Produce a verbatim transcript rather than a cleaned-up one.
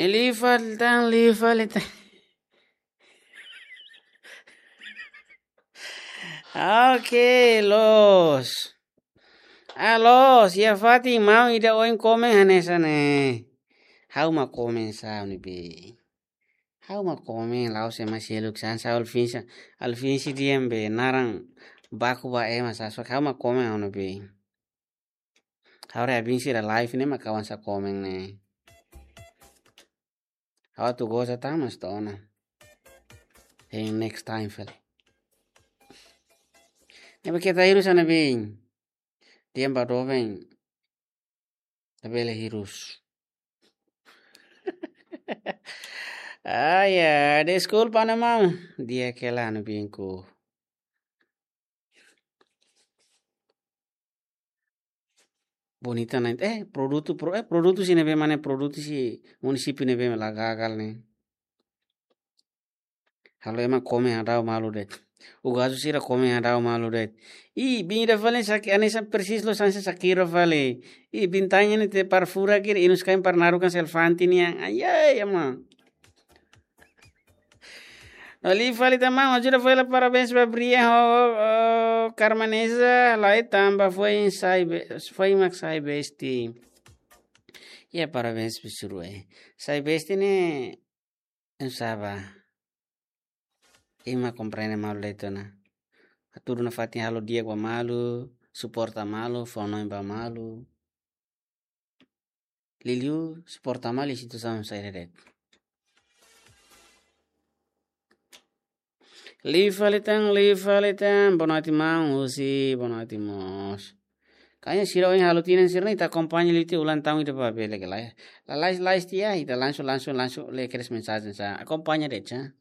Liu fali tan, liu fali tan. Oke, loos. Ah, loos, iha fatin maun ida ohin komen hanesan ne'e. Ha'u mak komen sa ne'ebé. Ha'u mak komen, la'ós ema seluk, hanesan Alvin sa, Alvin sei dehan be naran baku ba ema sa, so ha'u mak komen ha'u ne'ebé. Ha'u haree Alvin sira live ne'e mak ha'u hanesan komen ne'e. Ha'u atu goza tan mas to'o ona. Hein next time fali. Ne'ebé keta hirus hanesan ne'ebé. Dehan ba doben. Labele hirus. Ah, ya, deskulpa ona maun. Di'ak hela hanesan ne'ebé. Bonita ne'e, eh, produtu, pro-, eh, produtu sira ne'ebé mak ne'e, produtu husi munisípiu ne'ebé mak la gagal ne'e. Halo ema komen hadau malu de'it. Ugasu sira komen hadau malu de'it. Ih, biin ida fali saki, hanesan persis loos hanesan Shakira fali. Ih, biin tanya ne'e te par furak kiri, inus kain par narukan selfanti nian. Ai, ai, ama. No liu fali tan maun, ajuda fali la parabéns ba Brian ho, ho Carmanesa, lai tanba foin sai be-, foin mak sai besti. Ya, parabéns ba sira, eh. Sai besti ne'e, ema sá ba. Ema komprende malu de'it ona. Hatudu nafatin halo di'ak ba malu, suporta malu, fó-hanoin ba malu. Liuliu suporta malu iha situasaun saida de'it. Liu fali tan, liu fali tan, boa noite maun, husi, boa noite mós. Kayaknya sira ohin halo tinan sira ne'e ita akompaña liu tiha ulang tahun ida ba bele ke lai. Lalais, lais tiha, ita langsung, langsung, langsung lee kedas mensajen sa. Akompaña de'it sa.